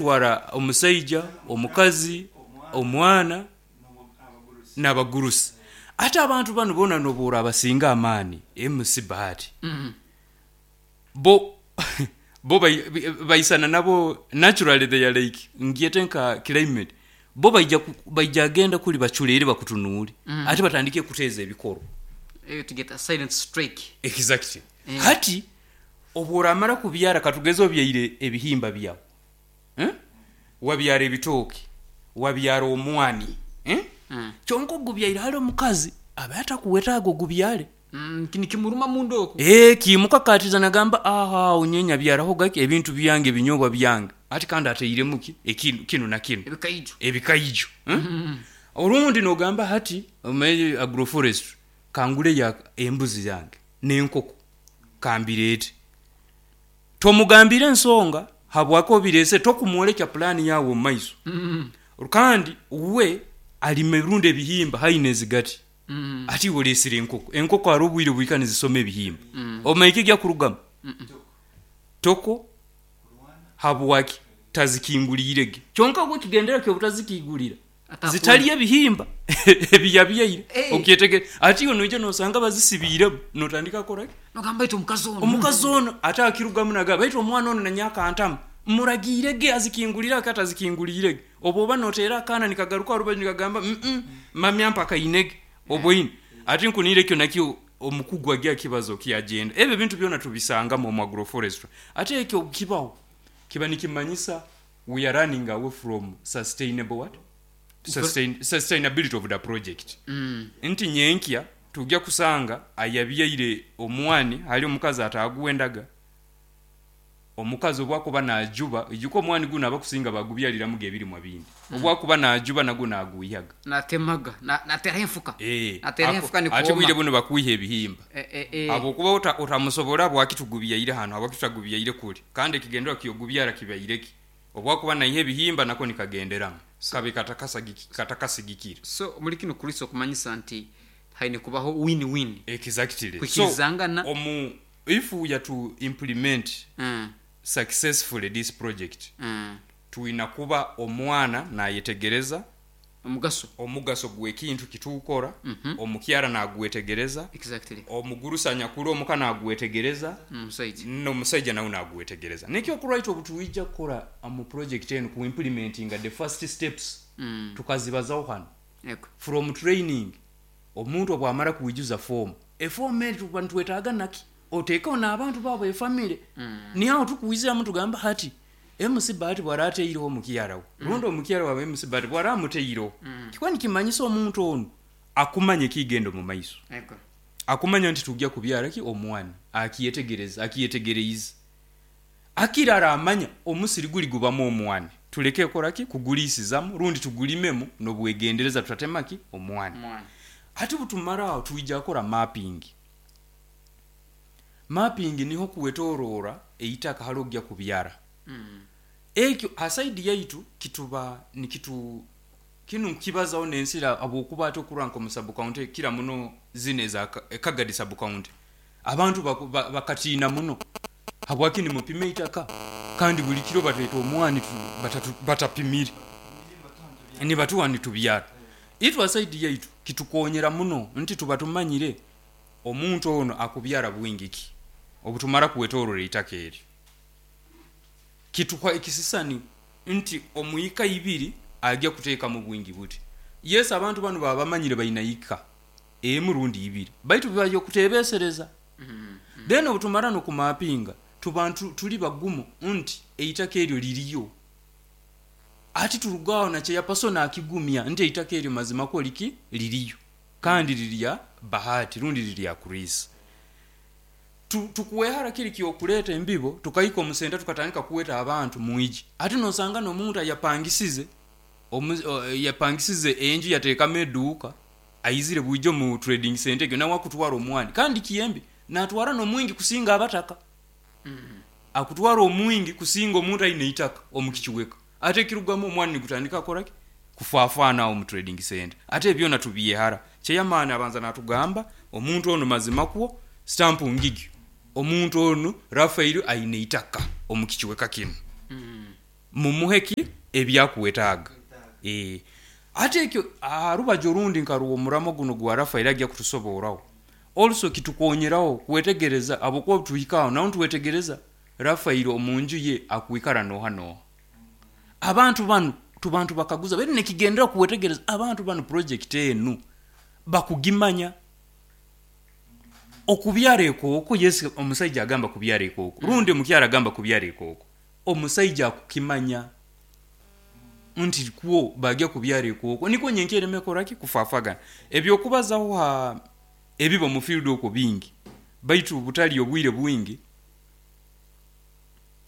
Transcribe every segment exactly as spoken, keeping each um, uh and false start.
Twara omusaija, omukazi, omwana n'abagurusi. Ate abantu banu boona nobu orabasinga amaani, M C Bahati, Mm. bo bo bai- baisana nabo naturally. They are like, ngyete nka climate, bo baija ku- baija agenda kuli baculeere, bakutunuule. Mm. Ate batandike kuteeza ebikoro. Eh, to get a silent strike. Exactly. Mm. Hati obu oramara kubyara, katugeze obyaire ebihimba byawe, eh? Wabyara ebitooke, wabyara omwani, eh? Mm. Kyonka ogubyaire hali omukazi aba atakuwetaaga ogubyare. Mm, kini kimuruma munda oku. Eh, kimukakatiza nagamba, aha, onyenya byaraho gaki ebintu byange, ebinyobwa byange, ati kandi ateiremu ki ekinu kinu na kinu. Ebikaijo. Ebikaijo, eh? Mm. Orundi nogamba hati omaire agroforestry, kangule ya embuzi yange n'enkoko kambireete. Tomugambire ensonga habwaki obireese, tokumwolekya pulaani yawe omu maiso. Mm. Kandi we alima ebirundi ebihimba haine ezigati. Mm. Ati iwe oleesire enkoko, enkoko hariho obwire buhika nizisoma ebihimba. Mm. Omaike ekyakurugamu? Mm. Toko habwaki tazikingulirege, kyonka gwe ekigendera kyobutazikigulira Ata zitali ebihimba ebiyabyaire. Eh. Okyetegere, ati iwe noija nosanga bazisibiiremu, notandika kukoraki? Nogamba iti omukazi ono. Omukazi ono ate akirugamu naga, baitu omwana ono nanyaka ntamu muragiirege azikingulire, ake atazikingulirege. Oba oba noteera akaana nikagaruka arubaju nikagamba, mm mamya mpaka inege oboine. Ati nkuniire ekyo nakyo omukugu agya kibazo kyagenda. Ebyo ebintu byona tubisangamu omu agroforestry. Ate ekyo kibaho kiba nikimanyisa we are running away from sustainable what? Sustain, sustainability of the project. Mm. Nti nyenkya tujja kusanga ayabyaire omwani hali omukazi atagwendaga. Omukazi obwakuba najuba, ijuka omwani guno abakusinga bagubyaliramu gebirimwa bindi, obwakuba najuba nagwo nagwihaga. Natemaga. Na- Natera enfuka. Eh, Natera ako- enfuka ate nikuoma. bwire buno bakwiha ebihimba. Eh, eh, eh. Habwokuba ota- otamusobora, bwaki tugubyaire hano, habwaki tutagubyaire kuli? Kandi ekigendererwa kyogubyara kibaireki, obwakuba naiha ebihimba nako nikagenderamu kabe katakasagiki- katakasigikire. So muri kino Kristo okumanyisa nti haine kubaho win win. Exactly. Kwikirizangana. So omu, if we are to implement Mm. successfully this project, Mm. tulina kuba omwana nayetegereza Omugaso. omugaso gw'ekintu kituukora, Mhm. omukyara nagwetegereza, Exactly. omugurusa nyakulu omuka nagwetegereza, Omusaija. n'omusajja nawe nagwetegereza. Nekyokulwaita obu tuija kukora mu project eno, ku implementinga the first steps, Mm. tukazibazaho hano. Eko. From training, omuntu obwamara kuijuza fomu, efomu eri tuba nitwetaaga naki oteekeho n'abantu baabo, efamire. Mm. Niaho tukuwiziramu tugamba hati M C Bahati bwarateireho omukyara we, rundi omukyara wawe M C Bahati bwaramuteireho, Mm. kikuba nikimanyisa omuntu onu akumanya ekigenda omu maiso. Eko. Akumanya nti tujja kubyara ki omwana, akiyetegereza, akiyetegereize. Akirara amanya omusiri guli gubamu omwani, tuleke koraki kugulisizamu, rundi tugulimemu n'obwegendereza, tutatema ki omwani. Omwana. Ate butumara aho twija kora mapping. Mapping niho kuwetorora eitaka hali ojja kubyara. Mm. Ekyo asaidi yaitu kituba nikitu kinu nkibazaho nensira, habwokuba ate okurwa nka omu sub county kira muno zino eza Ka- Kagadi sub county, abantu baku- ba- bakatiina muno, habwaki nimupima eitaka kandi buli kiro batweta omwani tu- batatu- batapimire, nibatuwa nitubyara. Itwe asaidi yaitu kitukonyera muno nti tuba tumanyire omuntu ono akubyara bwingi ki. Obutumara kuwetorora eitaka eryo, kituha ekisisani nti omwika ibiri ajja kuteekamu bwingi buti. Yes, abantu bano baba bamanyire baina ika emu rundi ibiri, baitu bibaja okutebesereza. Mm. Then obutumara nokumapinga, tuba ntu- tuli bagumu nti eitaka eryo liriyo. Ati turugaho nakyeyapasona akigumya nti eitaka eryo mazima ko liki liriyo, kandi lirya Bahati rundi lirya Chris. Tu- tukuwehara kiri kyokuleeta embibo, tukahika omusenta, tukatandika kuweta abantu mwiji. Ate nosanga n'omuntu ayapangisize omu- o- yapangisize enju, yateekamu eduuka, aizire bwijo mu trading center egyo, nawe akutwara omwani, kandi kiyembe natwara n'omwingi kusinga abataka. Mm. Akutwara omwingi kusinga omuntu aine eitaka omukikiweka. Ate ekirugamu omwani nigutandika koraki kufaafaana awo mu trading center. Ate ebyona tubyehara. Kyeyamaani abanza natugamba omuntu ono mazima kwo stampu ngigyo, omuntu ono Rafael aine eitaka omukikiweka kino. Mm. Mumuhe ki ebyakuwetaaga. Eh, ate ekyo aha rubaju orundi nkaruwa omuramo guno gwa Rafael ajja kutusoboraho, also kitukonyeraho kwetegereza habwokuba tuhikaho naho ntuwetegereza Rafael omunju ye akwikara noha noha. Abantu banu tubantu bakaguza bali nekigendera kuwetegereza abantu banu project enu bakugimanya okubyara ekooko. Yes, omusaija agamba kubyara ekooko, rundi omukyara agamba kubyara ekooko, omusaija akukimanya nti kwo bagya kubyara ekooko, nikwo nyenkya ereme koraki kufafagana. Ebyokubazaho ha ebiba omu field okwo bingi, baitu butali obwire bwingi,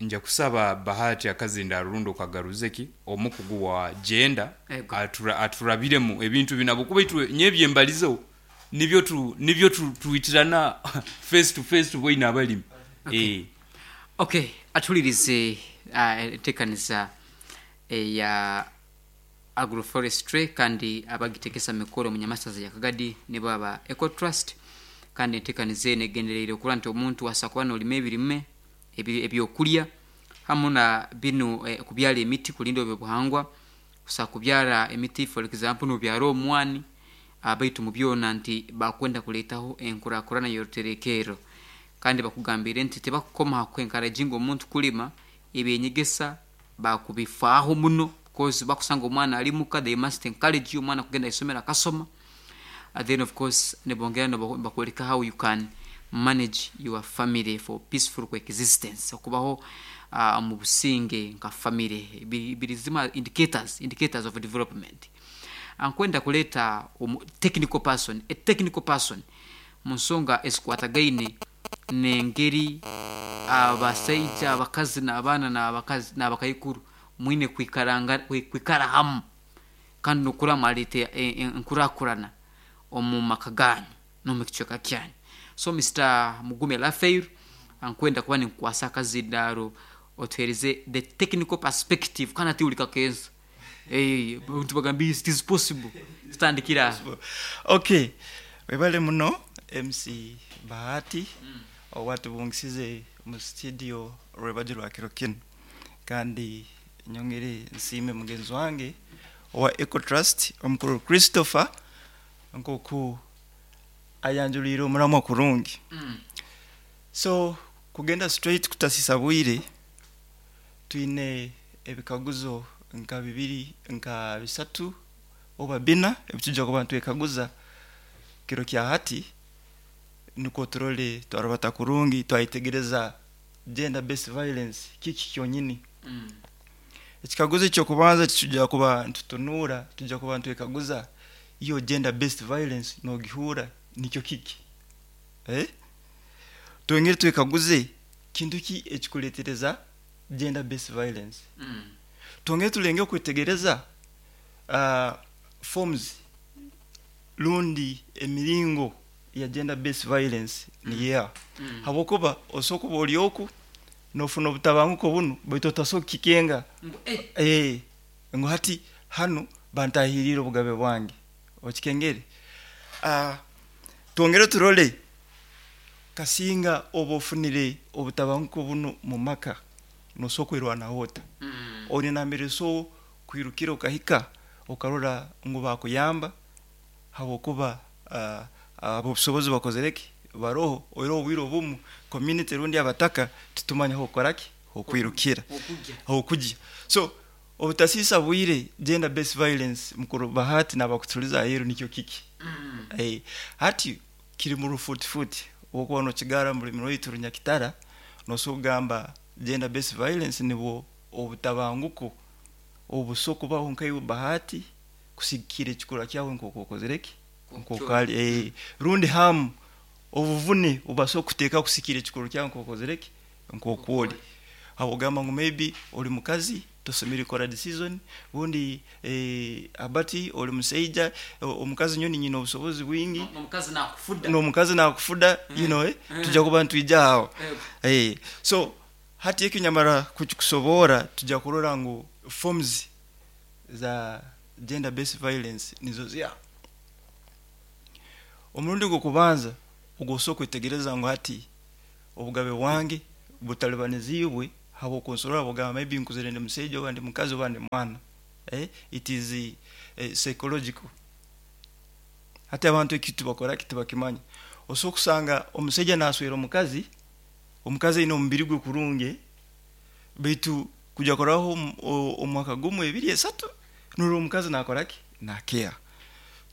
nja kusaba Bahati akazindaro rundi okagaruze ki omukugu wa gender Ego. atura, aturabiremu ebintu bino, habwokuba itwe nyebyembalizeho nibyo tu, nibyo tu, twitirana face to face tuboine abalimi. Okay. Eh. Okay, atulirize uh, enteekaniza eya agroforestry kandi abagitekesa mikoro munyamasaza ya Kagadi nibo aba Ecotrust. Kandi enteekaniza eno egendereire okuba nti omuntu asa kuba nolima ebirime ebi- ebyokulya hamu na binu, eh, kubyara emiti kulinda ebyobuhangwa, kusa kubyara emiti, for example nobyara omwani, ah, baitu mu byona nti bakwenda kuletaho enkurakurana y'oruterekero. Kandi bakugambire nti tebakukoma ha kwenkarajinga omuntu kulima, ebyenyegesa bakubifaaho muno, because bakusanga omwana ali muka, they must encourage you omwana kugenda isomero akasoma. Uh, then of course nibongera nibakwoleka how you can manage your family for peaceful coexistence, okubaho uh, mu businge nka family. Biri biri zima indicators indicators of development. Ankwenda kuleta omu technical person, a technical person mu nsonga ezikwatagaine n'engeri abasaija, abakazi n'abaana n'abakazi n'abakaikuru mwine kwikaranga kwikara hamu kandi nokura mwaleta enkurakurana omu maka ganyu n'omu kicweka kyanyu. So Mister Mugume Rafael, ankwenda kuba ninkukwasa akazindaro otuhereze the technical perspective kandi ati uli kakensa. Eh, abantu bagamba it is possible, tutandikira. Okay, webale muno M C Bahati mm. owatubungisize mu studio rwebaji rwa kiro kino. Kandi nyongere nsiime mugenzi wange owa Ecotrust omukuru Christopher nkoku ayanjuliire omuramwa kurungi mm. So kugenda straight kutasisa bwire, twine ebikaguzo nka bibiri, nka bisatu oba bina ebitujja kuba ntwekaguza kiro kya hati, nukwo turole twarubata kurungi twayitegereza gender based violence kiki kyonyini mm. Ekikaguzo ekyokubanza tujja kuba ntutunura, tujja kuba ntwekaguza, iyo gender based violence nogihura nikyo kiki, eh? Twongere twekaguze kintu ki ekikuletereza gender based violence mm. Twongere tulenge okwetegereza uh, forms lundi emiringo ya gender based violence mm. niyeha mm. Habwokuba osobola kuba oli oku nofuna obutabanguko bunu, baitu otasobola kukikenga eh. Eh, ngu hati hanu bantahirire obugabe bwange, okikengere. uh, twongere turole kasinga oba ofunire obutabanguko bunu mu maka, nosobola kwerwanaho ota mm. Oli nambere so kwirukira okahika okarora ngu bakuyamba, habwokuba uh, abobusobozi bakozereki baroho. Era obwire obumu community rundi abataka tutumanya hokoraki hokwirukira, hokujya. So obutasisa bwire, gender based violence, mukuru Bahati nabakutuliza aheru, nikyo kiki mm. Eh, hati kiri mu rufutifuti, wokuba nokigara mu rulimi rwaitu runyakitara, nosobola kugamba gender based violence nibwo obutabanguko obuso kubaho nkaiwe Bahati kusigikira ekikura kyawe nk'oku okozereki nk'okali, eh, rundi hamu obuvune obaso kuteeka kusikira ekikuru kyawe nk'okozereki nk'okwoli, habwogamba ngu maybe oli mukazi tosomere kora decision, bundi eh, abati oli musaija, omukazi nyoni nyina obusobozi bwingi. Omukazi nakufuda. N'omukazi nakufuda mm. You know, eh? Mm. Tujja kuba ntwija aho eh. So hati ekyo nyamara kukikusobora, tujja kurora ngu forms za gender based violence nizo zya omurundi gw'okubanza ogwosobola kwetegereza ngu hati obugabe bwange butalibanizibwe. Habwokunsorora bugamba maybe nkuzire ndi musaija oba ndi mukazi oba ndi mwana. Eh, it is eh, psychological. Hati abantu ekintu bakora kitibakimanya. Osobola kusanga omusaija naswera omukazi, omukazi aine omubiri gwe kurungi, baitu kujya koraho omwaka gumwe, ebiri, esatu, nurora omukazi nakora ki? Nakeha.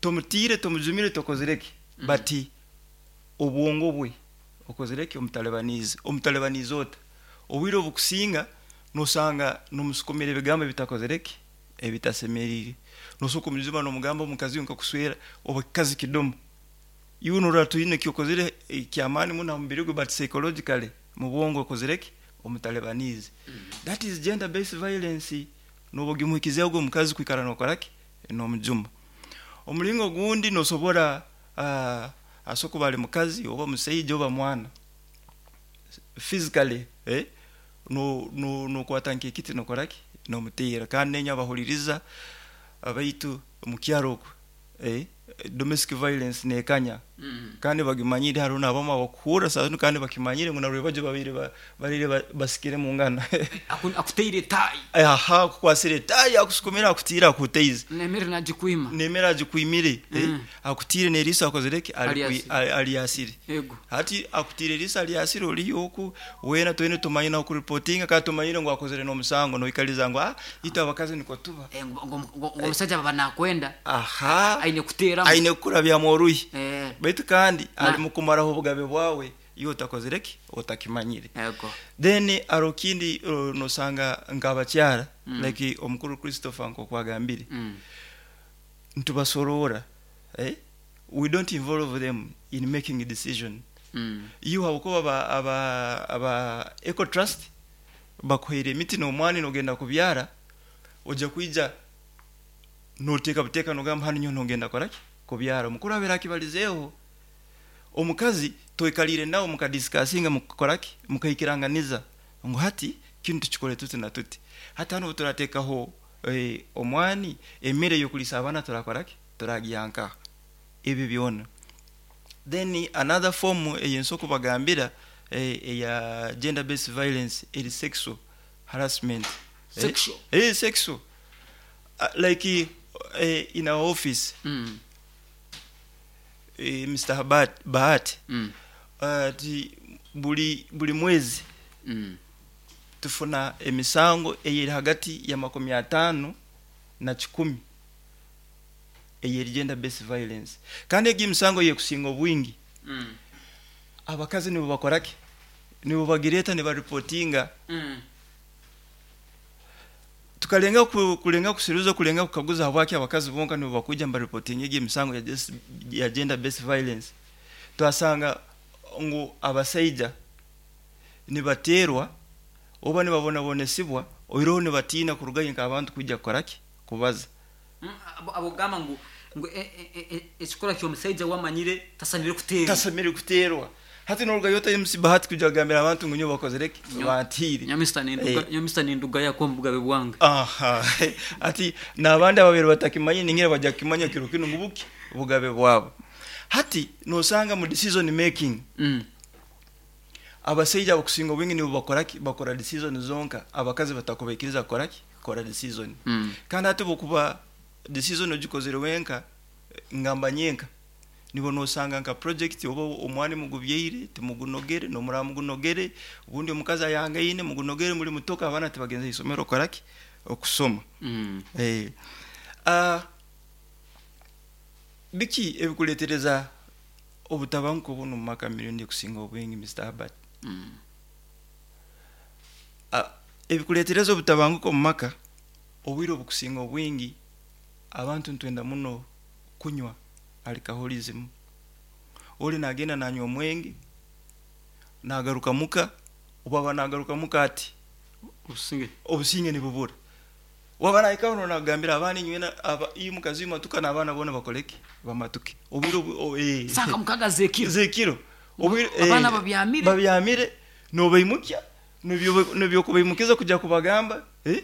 Tomutiire, tomujumire, tokozire ki, Mm. but obwongo bwe okozire ki? Omutalibaniize. Omutalibaniize ota? Obwire obukusinga nosanga nomusukumira ebigambo ebitakozire ki? Ebitasemeriire. Nosobola kumujuma nomugamba, omukazi nkakuswera oba kikazi kidomo. Iwe norora tuyine kyokozire kyamaani muno ha mubiri gwe, but psychologically mu bwongo okozire ki? Omutalibaniize. That is gender based violence. Noba ogimuhikizeho ogwo omukazi kwikara nokora ki? Nomujuma. Omulingo ogundi nosobora uh, asobola kuba ali mukazi oba musaija oba mwana, physically, eh? no no nokwata nk'ekiti nokora ki? Nomuteera. Kandi nenya abahuliriza abaitu mukyaro okwo, eh? Domestic violence nekanya. Mm. Kandi bagimanyire. Hariho n'abamu abakuhurra saa zinu kandi bakimanyire ngu narwebajo babiri ba- barire ba- basikire mungana. Aku- akuteire etayi. Aha, akukwasire etayi, akusukumira, akutiire, akuteize. Nemere nagikwima. Nemere agikwimire, eh? Mm. Akutiire n'eriiso akozire ki? Alyasire. Alyasire. Ego. Hati akutiire eriiso alyasire, oliyo oku wena twene tumanyire nakureportinga, kandi tumanyire ngu akozire n'omusango, noikaliza ngu ah, itwe abakazi niko tuba. Eh, ngo- ngo ngo- ngo omusajja baba nakwenda Aha, aine kuteeramu. Aine kukurabyamu oruhi. Eh, baitu kandi Na- ali mukumaraho obugabe bwawe iwe otakozire ki? Otakimanyire. Ego. Then aro kindi, uh, nosanga nk'abakyara, Mm. like omukuru Christopher nkokwagambire, Mm. ntubasorora, eh? We don't involve them in making a decision. Mm. Iyo habwokuba aba, aba, aba Eco Trust bakuhaire emiti n'omwani nogenda kubyara, ojja kwija noteeka buteeka nogamba hanu nyowe nogenda koraki? Kubyara. Omukuru abeera akibalizeeho. Omukazi toikalire nawe mukadiscussinga, mukakoraki? Mukaikiranganiza ngu hati kinu tukikole tuti na tuti. Hati hano turateekaho eh, omwani, emmere y'okulisa abaana turakoraki? Turagyanka ebyo byona. Then another form eyensobola kubagambira, eh, eya gender based violence eri sexual harassment. Sexual? eh, eh, sexual, uh, like eh, in our office, Mm. eh, Mister Habat, Bahati, Mm. uh, ti buli buli mwezi Mm. tufuna emisango eyeri hagati ya makumi ataano na kikumi eyeri gender based violence. Kandi egi emisango yekusinga obwingi, Mm. abakazi nibo bakoraki? Nibo bagireta, nibareportinga. Mm. Tukalenga ku, kulenga kusiruza, kulenga kukaguza habwaki abakazi bonka nibo bakuja mbareportinga egi emisango ya, ges- ya gender based violence. Twasanga ngu abasaija nibaterwa oba nibabonabonesibwa, oiroho nibatiina kurugayo nk'abantu kwijja kukoraki? Kubaza. Mm, abo- abogamba ngu ngu e- e- e- ekikorwa ky'omusajja wamanyire tasanire kuteerwa. Tasamire kuterwa. Hati norugayo ota M C Bahati kujja kugambira abantu ngu nyo bakozereki? Nyo- Bantiire. Nyamista ninduga. Eh. Nyamista ninduga yako omubugabe bwange. Aha, ati n'abandi ababiri batakimanye ningira bajja kukimanya kiro kino ngu buki bugabe bwabo. Hati nosanga mu decision making, Mm. abasaija abakusinga obwingi nibo bakoraki? Bakora decision zonka. Abakazi batakubaikiriza kukoraki? Kukora decision. Mm. Kandi hati bwokuba decision ogikozere wenka, ngamba nyenka, nibo nosanga nka project oba omwani mugubyeire timugunogere, nomura mugunogere, ubundi omukazi ayangaine mugunogere muri mutoka, abaana tibagenze isomero koraki? Okusoma. Mm. Eh, ah, biki ebikuletereza obutabanguko buno mu maka mirundi ekusinga obwingi, Mister Herbert? Mm. Ah, ebikuletereza obutabanguko mu maka obwire obukusinga obwingi, abantu ntwenda muno kunywa alcoholism. Oli nagenda nanywa omwenge, nagaruka muka, obaba nagaruka muka ati obusinge. Obusinge nibubura. Waba nahikaho nonagambira abaana inywena aba iyo mukazi matuka n'abaana bona bakoleke? Bamatuke obwire obu- o- eh. Sanga mukaga zekiro. Zekiro. Obwire eh, Abaana babyamire. Babyamire, nobaimukya, nibyo nibyo kubaimukiza kujya kubagamba, eh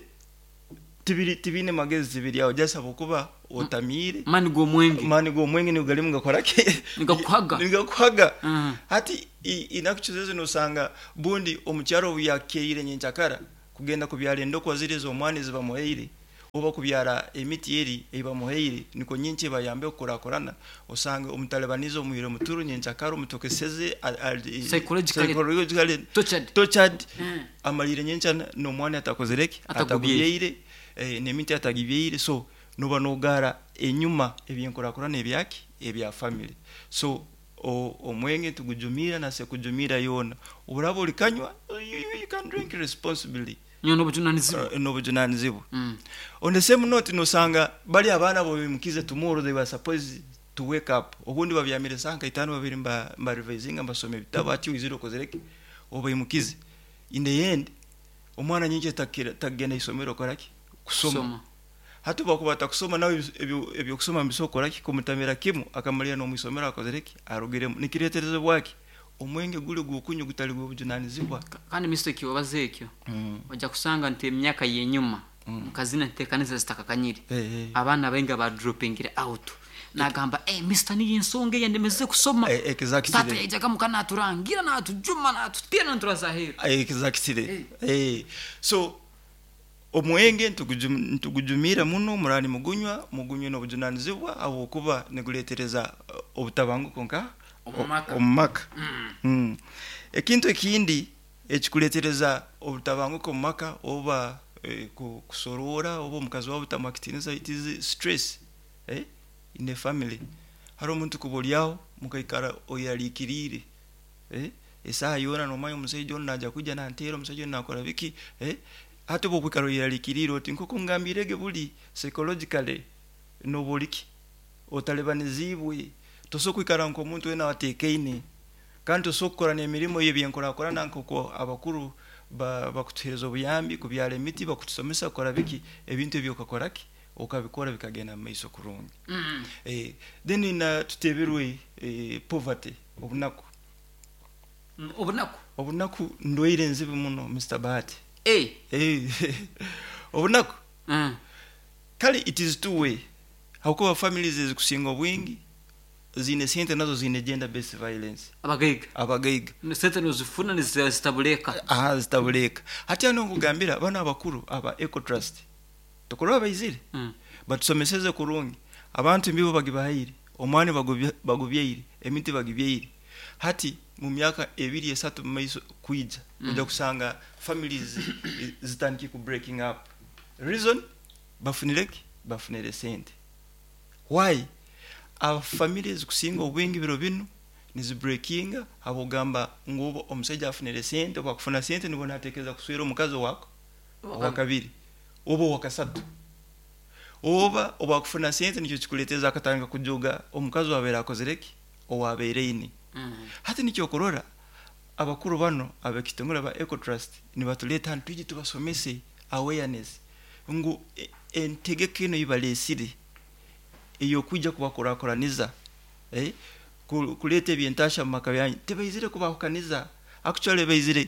Tibiri tibine magezi tibiri aho just habwokuba otamiire. Mani g'omwenge. Mani g'omwenge nigo galimu gakora ki? Nigakuhaga. Nigakuhaga. Mm. Hati inakuchezeze nosanga bundi omukyaro obu yakeire nyenkyakara kugenda kubyara endokwa ziri ez'omwani zibamuhaire oba kubyara emiti eri eibamuhaire niko nyinki bayambe okukurakurana, osanga omutalibanize omwire muturu nyenkyakara omutokeseze Psychologically psychologically tortured. Tortured. Mm. Amalire nyenkya n'omwani atakozereki Atagubyeire. atagubyeire, eh, n'emiti atagibyeire, so noba nogara enyuma ebyenkurakurana ebyaki ebya family. So o- omwenge tugujumira nase kujumira yona oburaba olikanywa, you, you, you can drink responsibly. Nyo n'obujunanizibwa. uh, n'obujunanizibwa. Mm. On the same note, nosanga bali abaana bobimukize tomorrow they were supposed to wake up, obundi babyamire saa nka itaano babiri mba, mba revisinga mbasoma ebitabo, ati wizire okozereki obayimukize. In the end omwana nyingi takira tagenda isomero koraki kusoma. Kusoma. Hati bakuba takusoma nawe ebyo ebyokusoma mbisokora ki kumutamira kimu akamalira no mwisomero akozereki arugiremu nikiretereze bwaki omwenge gule gukunyu gutali gwobujunanizibwa. Kandi mistake wabaze ekyo mm. ojja kusanga nti emyaka yenyuma Mm. mukazina ntekanisa zitakakanyire hey, hey. abaana bainga ba droppingire out nagamba, eh, mister, niyo ensonga eyandemeze kusoma. Eh, exactly. Tata yaijaga muka naturangira natujuma natutira naturazahera. Exactly. Eh. So omwenge ntugujum- ntugujumira muno murani mugunywa mugunywe n'obujunanizibwa habwokuba niguletereza uh, obutabanguko nka Omu maka. omu maka. Mm. Ekintu ekindi ekikuletereza obutabanguko omu maka oba eh, ku- kusorora oba omukazi wawe otamuha, it is stress eh, in a family. Hari omuntu kuba oryaho mukaikara oyerarikiriire, eh, esaaha yoona nomanya omusaija onu naija kwija nanteera, omusaija onu nakora biki, eh, hati oba okwikara oyerarikiriire oti nkoku ngambirege buli psychologically noba oriki otalibanizibwe, tosobola kwikara nk'omuntu wena ateekaine kandi tosobola kukora n'emirimo y'ebyenkurakurana nk'oku abakuru ba- bakutuheereza obuyambi kubyara emiti, bakutusomesa kukora biki, ebintu ebyo okakora ki okabikora bikagenda mu maiso kurungi. Mm. eh, then na tuteberwe eh, poverty, obunaku. Mm, obunaku. Obunaku ndwaire nzibu muno, Mister Bahati. Eh. eh, obunaku Mm. kale it is two way hakuba families ezikusinga obwingi ziine sente nazo ziine gender based violence. Abagaiga. Abagaiga. Sente nozifuna nizitabuleka. Aha, zitabuleka. Hati ano nkugambira bano abakuru aba Ecotrust tukuraba baizire Mm. batusomeseze kurungi, abantu embibo bagibahaire, omwani bagubye- bagubyeire, emiti bagibyeire. Hati mu myaka ebiri esatu mu maiso kwija Mm. ojja kusanga families zitandike ku breaking up. Reason bafunireki bafunire sente. Why abafamilies zikusinga obwingi biro binu nizibreakinga? Habwogamba ngu oba omusajja afunire sente oba akufuna sente nibwo natekereza kuswera omukazi owako owakabiri oba owakasatu oba obwakufuna sente nikyo kikuleeteza akatandika kujoga omukazi wabeere akozereki owabeere ini. Mm. Hati nikyo okurora abakuru bano abekitongole ba Ecotrust nibatuleeta hanu twije tubasomese awareness ngu e- entegeka eno yibalesire ey'okwija kubakurakuraniza, eh, ku- kuleeta ebyentasha mu maka byanyu, tebaizire kubahukaniza, actually baizire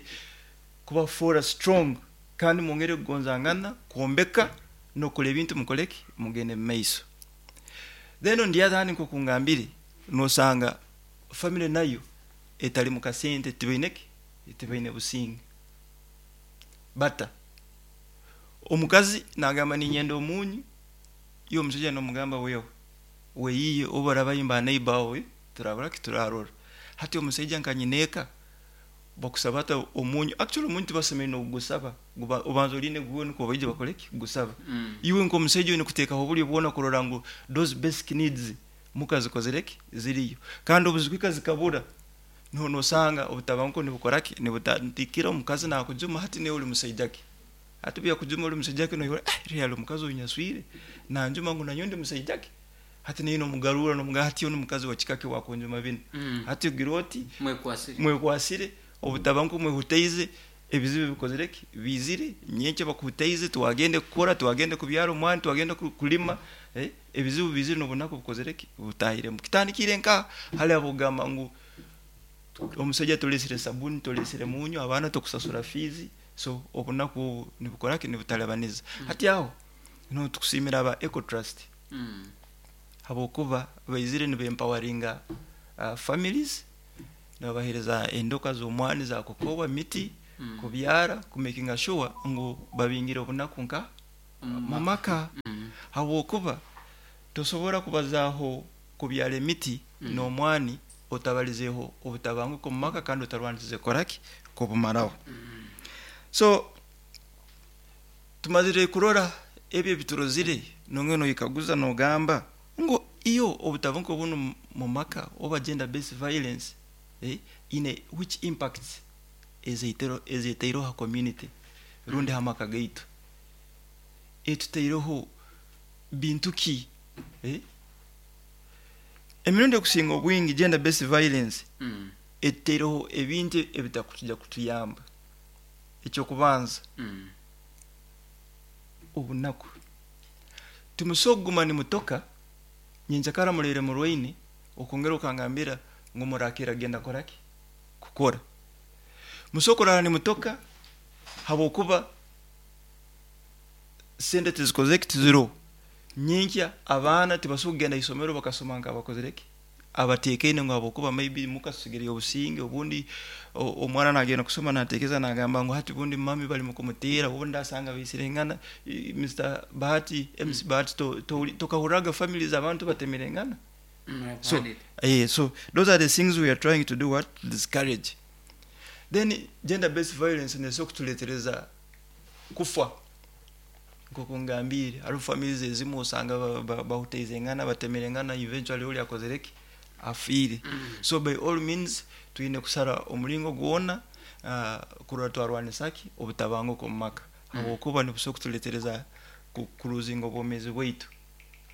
kubafuura strong kandi mwongere kugonzangana, kwombeka nokora ebintu mukoleki mugende mu maiso. Then on the other hand, nkoku ngambire, nosanga family nayo etali mu kasente tibaineki tibaine businge bata omukazi nagamba ninyenda omunyu, iyo omushaija nomugamba wewe weyiye oba orabayimba neighbor wawe turabura turarora. Hati omushaija nka nyineeka bakusaba ata omunyu? Actually omunyu tibasemeriire nokugusaba, guba obanza oline guwe nukwo baije bakoleki gusaba. Mm. Iwe nk'omushaija oine kuteekaho oburyo bwona kurora ngu those basic needs mukazikozereki ziriyo, kandi obuzikuhika zikabura niho nosanga obutabanguko nibukoraki nibutandikira. Omukazi nakujuma, hati newe ori musaija ki? Hati byakujuma ori musaija ki, noyora eh real omukazi oyu nyaswire nanjuma ngu nanyo ndi musaija ki? Hati naye nomugarura nomuga hati ono mukazi wa kika ki wakunjuma bino? Mm. Hati ogira oti mwekwasire. Mwekwasire obutabanguko, mwehutaize ebizibu bikozereki bizire nyenkya bakuhutaize, twagende kukora, twagende kubyara omwana, twagende ku- kulima, eh, ebizibu bizire n'obunaku bukozereki butahiremu. Kitandikire nka hali abogamba ngu omusajja tolesire sabuni, tolesire munyu, abaana tokusasura fees, so obunaku obu nibukoraki nibutalabaniza. Mm. Hati aho No tukusiimira aba Ecotrust Mm. habwokuba baizire nibaempoweringa uh, families, nibabahereza endoka z'omwani, za kokowa, miti Mm. kubyara, kumakinga sure ngu babingire obunaku nka mu maka, Mm. habwokuba tosobora kubazaaho kubyara emiti Mm. n'omwani otabalizeho obutabanguko mu maka kandi otarwanisize koraki kubumaraho. So tumazire kurora ebyo ebiturozire, nongene noyikaguza nogamba ngo iyo obutabanguko buno mu maka oba gender based violence, eh, ine which impacts ezeitero ezeteireho ha community rundi ha maka gaitu, etuteireho bintu ki, eh? Emirundi ekusinga obwingi gender based violence Mm. etuteireho ebintu ebitakutujja kutuyamba. Ekyokubanza, Mm. obunaku. Timusobola kuguma nimutoka nyenkyakara mureire murwaine, okongera okangambira ngu murakira genda koraki kukora. Musobola kurara nimutoka habwokuba sente tizikozeki, tiziroho. Nyenkya abaana tibasobola kugenda isomero bakasoma nkabakozereki abateekaine, ngu habwokuba maybe mukasigireyo obusinge. Obundi o- omwana nagenda kusoma nateekeza nagamba ngu hati bundi mami bali mukumuteera, obundi asanga baisirengana. I- Mister Bahati, M C Bahati, to- to- tokahurraga families abantu batemerengana. Mm, I've So heard it. eh, so those are the things we are trying to do, what, discourage. Then gender based violence nesobola kutuletereza kufa. Nkoku ngambire, hariho families ezimu osanga ba- ba- bahuteizengana, batemerengana, eventually oli akozereki, afiire. So by all means twine kusara omulingo gwona uh, kurora twarwanisaki obutabanguko omu maka, habwokuba nibusobola kutuletereza ku- kuruzinga obwomeezi bwaitu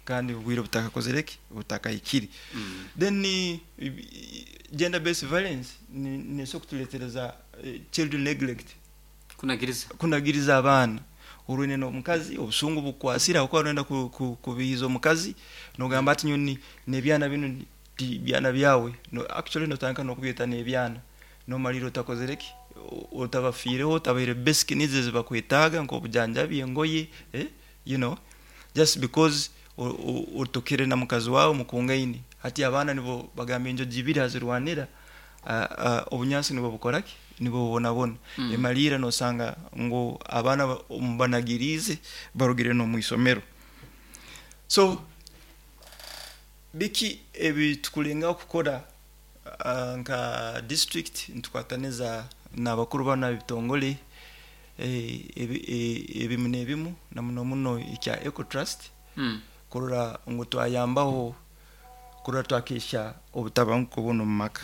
kandi obwire butakakozereki, butakahikire. Mm. Then ni gender based violence ni- nesobola kutuletereza eh, children neglect. Kunagiriza. Kunagiriza abaana. Orwine n'omukazi, obusungu bukwasira okuba orenda ku- ku- kubihiza omukazi, nogamba ati nyoni n'ebyana bino ti byana byawe. No, actually notandika n'okubyeta n'ebyana, nomalira otakozereki, O- otabafiireho, otabaire basic needs ezibakwetaaga nk'obujanjabi, engoye, eh? you know just because o- o- otokere na mukazi wawe mukungaine. Hati abaana nibo bagamba enjojo ibiri hazirwanira, ah, ah, obunyansi nibwo bukoraki, nibwo bubonabona. Mm. Emalira nosanga ngu abaana ba- mubanagiriize barugire n'omwisomero. So biki ebi tukulengaho kukora uh, nka district nitukwataniza n'abakuru bana ebitongole eh, ebi- eh, ebimu n'ebimu, na muno muno ekya Ecotrust, Mm. kurora ngu twayambaho kurora twakesha obutabanguko buno mu maka.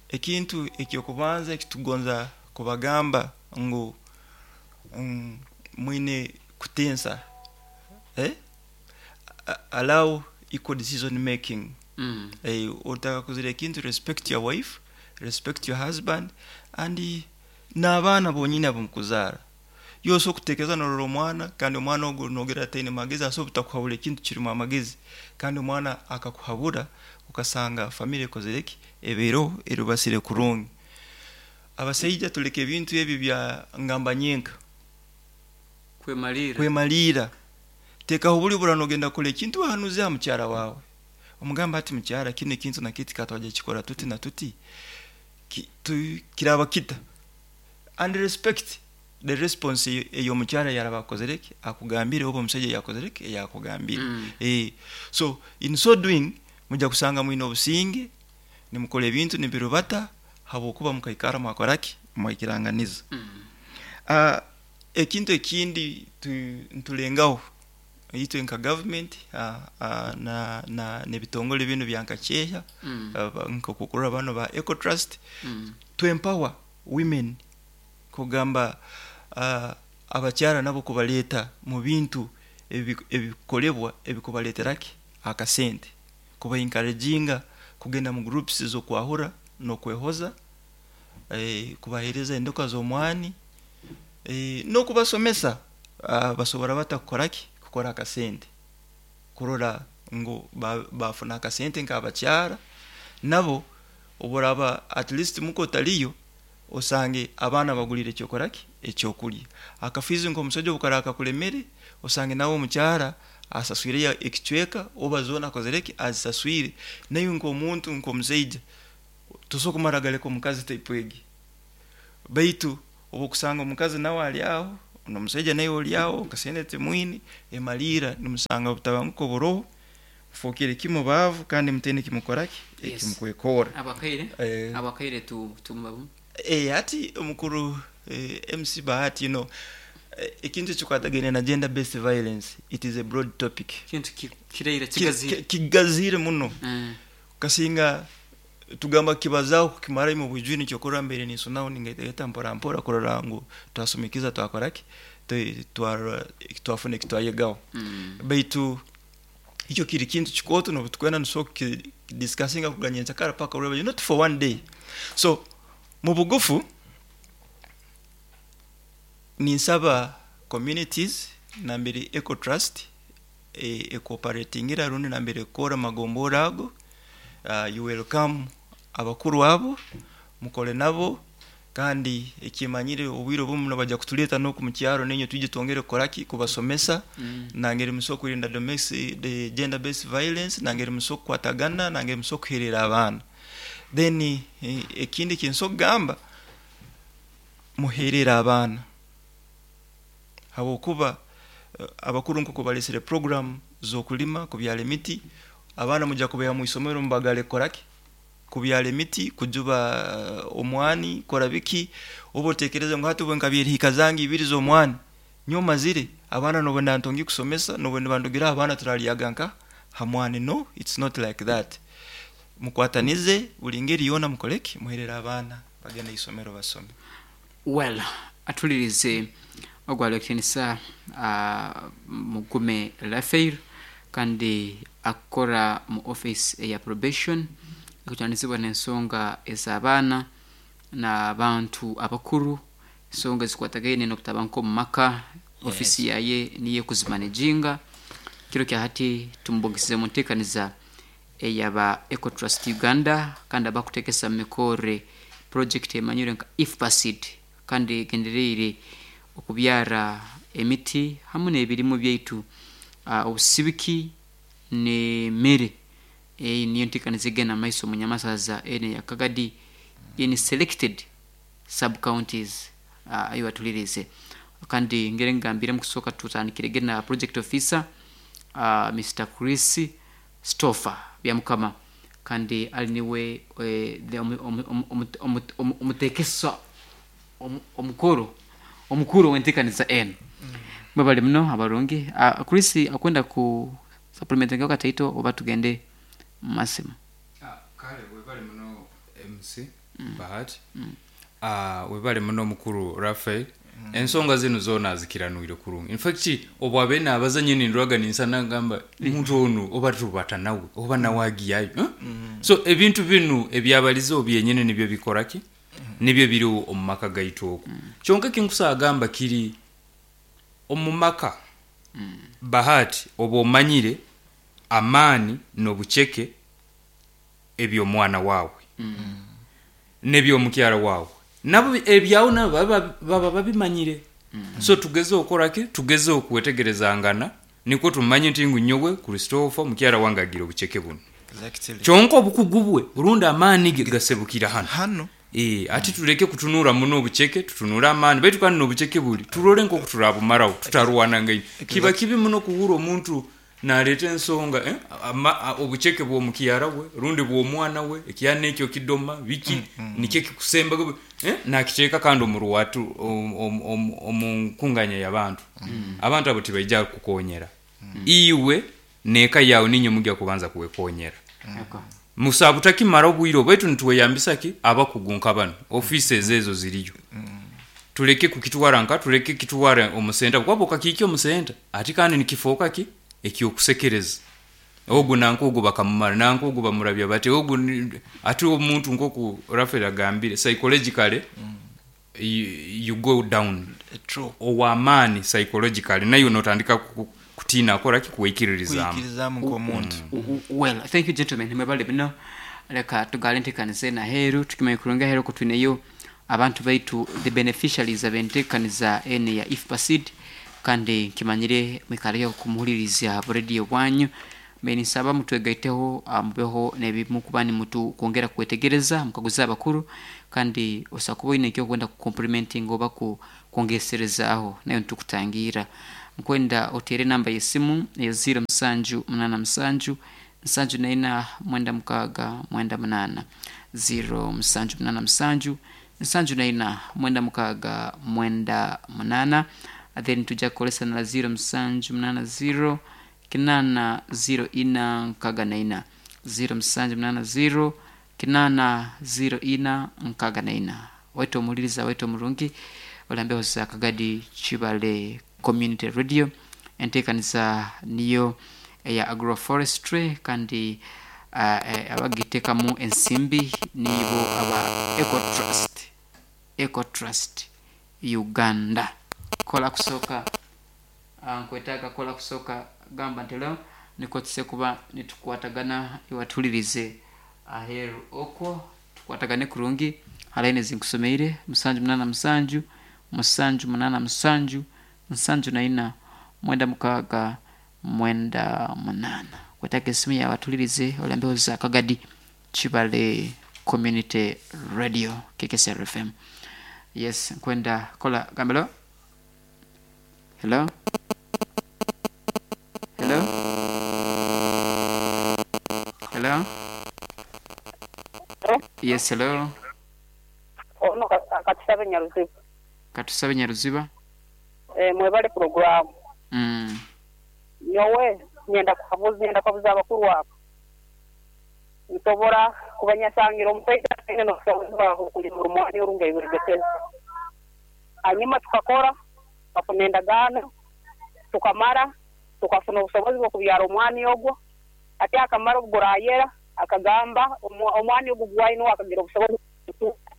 Ekintu ekyokubanza ekitugonza kubagamba ngu mm, mwine kutensa, eh? A- allow equal decision making. Mm. Eh, otaka kuzira ekintu, respect your wife, respect your husband and eh, n'abaana bonyini ab'omukuzaara. Yose okuteekeza norora omwana, kandi omwana ogwo nogera ataine magezi, asobola butakuhabura ekintu kirimu amagezi, kandi omwana akakuhabura ukasanga family ekozereki, ebeereho erubasire kurungi. Abasaija tuleke ebintu ebyo bya ngamba nyenka. Kwemalira. Kwemalira. Tekaho buli bura nogenda kukora ekintu, wahanuze aha mukyara wawe, omugamba ati mukyara, kino ekintu nakiti katwajya kikora tuti na tuti, Ki- tu- kiraba kita, and respect the response eyo- eyo omukyara yaraba akozereki akugambire, oba omusajja yakozereki eyakugambire. Mm. Eh, so in so doing mujja kusanga mwine obusinge, nimukora ebintu nibirubata, habwokuba mukaikara mwakoraki, mwaikiranganiza. Mm. Uh, ekintu ekindi tu- ntulengaho itwe nka government uh, uh, na, na n'ebitongole bino bya nkakyeya, Mm. uh, nkokukurra bano ba Ecotrust, Mm. to empower women, kugamba uh, abakyara nabo kubaleeta mu bintu ebi- ebikolebwa ebikubaleeteraki akasente, kuba encouraginga kugenda mu groups z'okwahura n'okwehoza, eh, kubahereza endoka z'omwani, eh, n'okubasomesa uh, basobora bata kukoraki, kukora akasente, kurora ngu ba- bafuna akasente nk'abakyara nabo. Oburaba at least muko otaliyo, osange abaana bagulire ekyokoraki, Ekyokulya akafizi nk'omusaija obukara akakulemere, osange nawe omukyara asaswireyo ekicweka oba zoona akozere ki, azisaswire. Naiwe nk'omuntu, nk'omusaija, tosobola kumara galeka omukazi type egi, baitu obu okusanga omukazi nawe ali aho n'omusaija nawe oli aho, kasente timwine, emaliira nimusanga obutabanguko buroho, mufookere kimu baavu kandi mutaine ekimukora ki, Yes. ekimukwekorra. Abakaire Eh, abakaire tu tumubabu. Eh, hati omukuru eh, M C Bahati, you know, eh, ekintu ekikwatagaine na gender based violence, it is a broad topic. Kintu ki- kireire Ki- kigazire. ki- kigazire muno. Mm. Kasinga tugamba kibazaaho kukimara mu bwijwire, nikyokurora mbere ninsonaho ningaita mpora mpora kurora ngu twasumikiza, twakoraki, twa- twafuna ekitwayegaho. Mm. Baitu ekyo kiri kintu kikooto, nobu tukwenda nisobola kudiscussinga kuganya enkyakara paka ureba, not for one day. So mu bugufu ninsaba communities nambere Ecotrust e, ecooperatingira rundi nambere ekora magombora ago, uh, you welcome abakuru abo, mukole nabo. Kandi ekimanyire obwire obumu nibajja kutuleeta n'oku mukyaro nenye twije twongere kukoraki, kubasomesa Mm. nangeri musobola kurinda domestic, the gender based violence, nangeri musobola kukwatagana, nangeri musobola kuherera abaana. Then eh, ekindi kinsobola kugamba, muherere abaana, habwokuba eh, abakuru nk'uko balesere program z'okulima, kubyala emiti, abaana mujja kubeha mu isomero mubagale kukoraki, kubyala emiti, kujuba eh, omwani, kora biki. Oba otekereza ngu hati obwe nkabyera hika zange ibiri z'omwani, nyo mazire abaana nobona ntongi kusomesa, nobona bandugira abaana turalyaga nka hamwani. No, it's not like that. Mukwatanize buli ngeri yona, mukoleki, muherere abaana bagenda isomero basome. Well, atulirize ogwalwekitinisa uh, Mugume Rafael, kandi akora mu office eya probation ekutandizibwa n'ensonga ez'abaana n'abantu abakuru, ensonga ezikwatagaine n'okutabanguko mu maka. Ofisi yaye niyo ekuzimanejinga. Kiro kya hati tumubogesize mu nteekaniza eyaba Ecotrust Uganda, kandi abakutekesa mu mikore project emanyire nka IFPASID, kandi egendereire okubyara emiti hamu n'ebirimu byaitu, uh, obusibiki n'emmere. Eyi niyo nteekaniza egenda mu maiso mu nyamasaza ene ya Kagadi in selected sub counties. uh, ayo batulirize, kandi ngere ngambire mu kusooka tutandikire na project officer uh, Mister Chris Stoffer Byamukama, kandi ali niwe eh, the omu- omu- omu- omu- omu- omutekesa omu- omukuru omukuru w'enteekaniza eno. Mwebale muno abarungi. uh, Chris akwenda ku supplementinga kataito oba tugende mu masimu? Ah, kale webale muno M C Bahati. Ah, webale muno mukuru Rafael. Ensonga zino zona azikiranwire kurungi. In fact, obwo abe abaza nyini ndwaga ninsana ngamba muntu ono oba tubata nawe oba nawe agiyayo, eh? So ebintu binu ebyabalizo byenyene nibyo bikoraki, nibyo biri omu maka gaitu okwo. Kyonka kinkusagamba kiri omu maka, Bahati, oba omanyire amaani n'obuceke eby'omwana waawe n'ebyomukyala waawe, nabo ebyawo nabo baba baba babimanyire. So tugeze okoraki, tugeze okwetegerezangana, nikwo tumanye nti ngu nyowe Christopher, mukyala wange agira obuceke buno. Exactly. Kyonka obukugu bwe burundi amaani ge gasebukira hano. Hano. Eh, ati tuleke kutunura muno obuceke, tutunure amaani. Baitu kandi n'obuceke buli turole nk'oku turabumaraho tutarwanangaine. Kiba kibi muno kuhura omuntu naleeta ensonga, eh, ama- a- obuceke bw'omukyara we rundi bw'omwana we, ekyana ekyo kidoma biki, nikyo kikusemba, eh, nakiteeka kandi omu ruwatu omu- omu- omu omu nkunganya y'abantu. Abantu abo tibaija kukukonyera iwe neeka yawe, ninye mujja kubanza kuwekonyera. Eko. Musa butakimara obwire obwaitu nitweyambisa ki abakugu nka bano, offices ezo ziriyo. Tuleke kukitwara nka, tuleke kitwara omusenta, kuba okakiikya omusenta ati kandi nikifooka ki ekyokusekereza ogu nanka ogu bakamumara, nanka ogu bamurabya bati ogu ni- ati omuntu nkoku Rafael agambire, psychologically you, you go down. True. Ow'amaani psychologically nayo notandika ku- kutiina akoraki, kuweikiririzaamu. Kuyikirizamu nk'omuntu. Well, thank you gentlemen, mwebale bino. Leka tugale nteekaniza eno aheeru, tukimanye kurungi aheeru ko twineyo. Abantu baitu, the beneficiaries abentekaniza ene ya IFPA Seed, kandi nkimanyire mwikaleyo kumuhuliriza bu radio bwanyu. Mbe nisaba mutwegaiteho, ah, mubeho nebimu kuba nimutu kwongera kwetegereza mukaguza abakuru, kandi osakuba oine ekyokwenda kucomplimenting oba ku kwongeserezaaho, nayo nitukutangira. Nkwenda otere namba yesimu eyo zero musanju munana musanju nsanju naina mwenda mukaaga mwenda munana, zero musanju munana musanju nsanju naina mwenda mukaaga mwenda munana. Then tujja kukolesa na zero musanju munana zero kinana zero ina nkaaga naina, zero musanju munana zero kinana zero ina nkaaga naina. Waitu omuliriza waitu omurungi olambeho za Kagadi Chibale Community Radio, enteekaniza niyo eya agroforestry, kandi uh, eh, abagitekamu ensimbi nibo aba Ecotrust, Ecotrust Uganda. Kola kusooka, ah, nkwetaaga kola kusooka gamba nti leo niko tuse kuba nitukwatagana, iwatulirize aheru okwo tukwatagane kurungi. Halaini zinkusomeire musanju munana musanju musanju munana musanju nsanju naina mwenda mukaaga mwenda munana. Kwetaaga esimu yawe atulirize olambeho za Kagadi Chibale Community Radio, K K C R F M. Yes, nkwenda kola gambelo. Hello, hello, hello. Yes, hello. Ono Katusabe Nyaruziba. Katusabe Nyaruziba. Eh, mwebale programu. mm. Nyowe nyenda kuhabuza, nyenda kuhabuza abakuru abo. Nsobora kubanyasangira omusaija aine n'obusobozi bwaho kulima omwani orunga ibirigeteza, hanyuma tukakora tukafuna endagaano, tukamara tukafuna obusobozi bw'okubyara omwani ogwo. Ate akamara obugurayera akagamba omwa- omwani ogwo gwaine akagira obusobozi bw'okutuuka.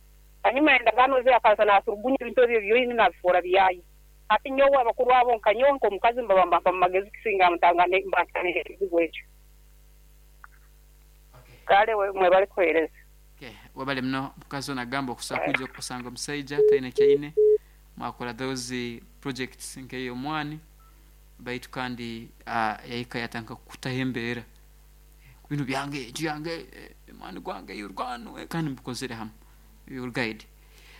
Hanyuma endagaano ze akaza naturugunya ebintu ebyo byoine nabifuura byaye. Ati nyowe abakuru abo nka nyowe nk'omukazi mbaba mbampa mu magezi kisinga mutangane mbantanire ekizibu ekyo. Kale we- mwebale kuheereza. Okay. Wabale muno mukazi ono agamba okusobola kuja okusanga omusaija talina kyaine, mwakora those projects nkeyo omwani baitu, kandi uh, yahika yatandika kutaho embeera bintu byange, enju yange, eh, omwani gwange yorwano, eh, kandi mubikozere hamwe your guide.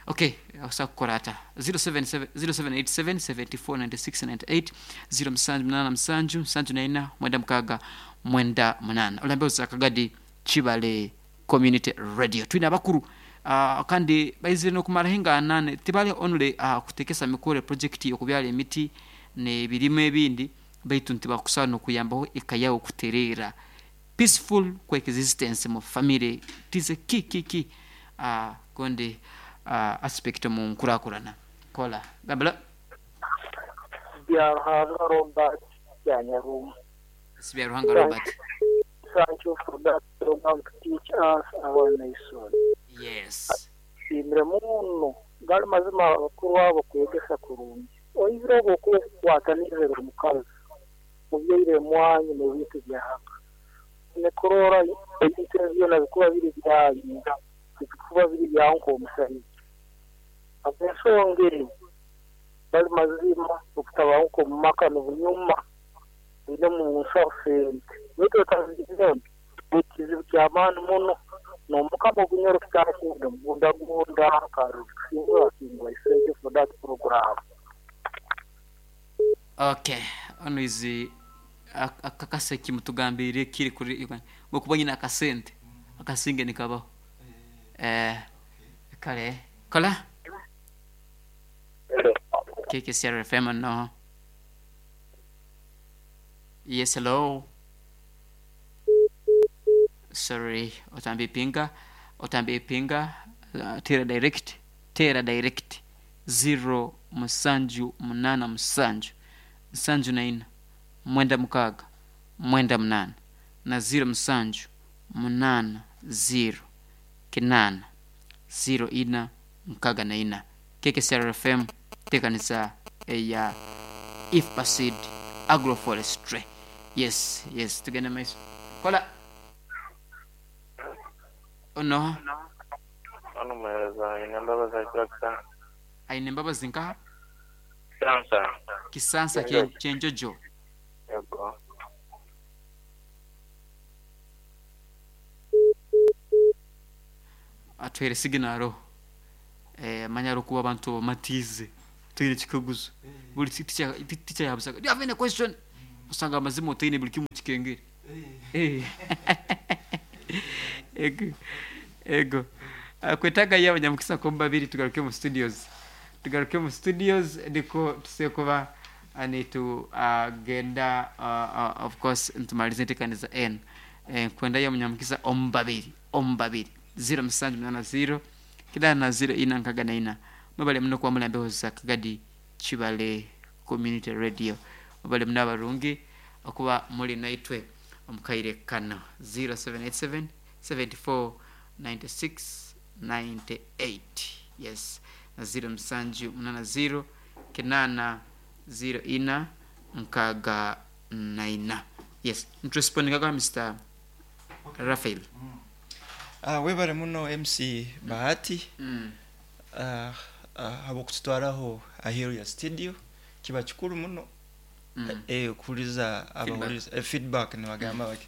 Okay, osobola kukora ata zero seven seven zero seven eight seven seven four nine six nine eight, zero musanju munana musanju nsanju naina mwenda mukaaga mwenda munana. Olambeho za Kagadi Chibale Community Radio. Twine abakuru, uh, kandi baizire nokumaraho enganane. Tibali only uh, kutekesa mikore project yokubyala emiti nebirimu ebindi, baitu ntibakusobola nokuyambaho eka yawe kutereera. Peaceful coexistence mu family tize ki ki ki uh, gondi uh, aspect mu nkurakurana. Kola gambala. Byaruhanga Robert Byanyaruma. Sibyaruhanga Robert. Thank you for that program to teach us our nation. Yes. Nshimire muno, gali mazima abakuru abo kwegesa kurungi. Oizire obwo okukwataniriza omukazi mubyaire mwanyu n'ebintu byahaka nekurora ebintu ebyo byona bikuba biri byanyu, bikuba biri byawe nk'omusaiza. Ensonga eri bali mazima okutabanguka omu maka n'obunyuma bine mu nsaho sente, baitu otazigire ekizibu ky'amaani muno n'omukama ogunyoro kitarakuda mugundagunda karusinga singwa. Thank you for that program. Okay, ono izi akakaseki mutugambire kiri kuri bwokuba nyina akasente akasinge nikabaho, eh kale kola. K K C R F M. No, yes, hello, sorry, otambi pinga, otambi pinga, uh, tera direct, tera direct zero musanju munana musanju nsanju naina mwenda mukaaga mwenda munana na zero musanju munana zero kinana zero ina mukaaga na ina. K K C R F M, tekanisa eya IFPA Seed agroforestry. Yes, yes, tugende maiso. Kola ono. Ono muhereza aine mbabazi aikura Kisansa. Aine mbabazi nkaha? Kisansa. Kisansa kyenjojo. Yego. Atwere signalo eh manya rukuba abantu bamatize tuyire kikaguzo buli teacher teacher yabusaga, do you have any question? Usanga amazima otayine buli kimu kikengere. Eh ego ego kwetaga y'abanyamukisa ko babiri tugaruke mu studios tugaruke mu studios ndiko tusekuba anitu agenda uh, uh, of course ntumalize ntekaniza n eh, kwenda y'abanyamukisa ombabiri ombabiri zero musanju munana zero kidana zero ina nkaga na ina. Mwebale muno kuba mulambeho za Kagadi Kibale Community Radio. Mwebale muno abarungi okuba muli naitwe omukaire kano zero seven eight seven seventy four ninety six ninety eight. Yes, na zero musanju munana zero kinana zero ina nkaga na ina. Yes, nturespondinga kwa Mister Raphael. Mm. Uh, webale muno M C Bahati. Mm. Uh, uh, habokututwaraho aheru ya studio kiba kikuru muno. Mm. Eh kuliza abawuliza eh, feedback ni bagamba baki.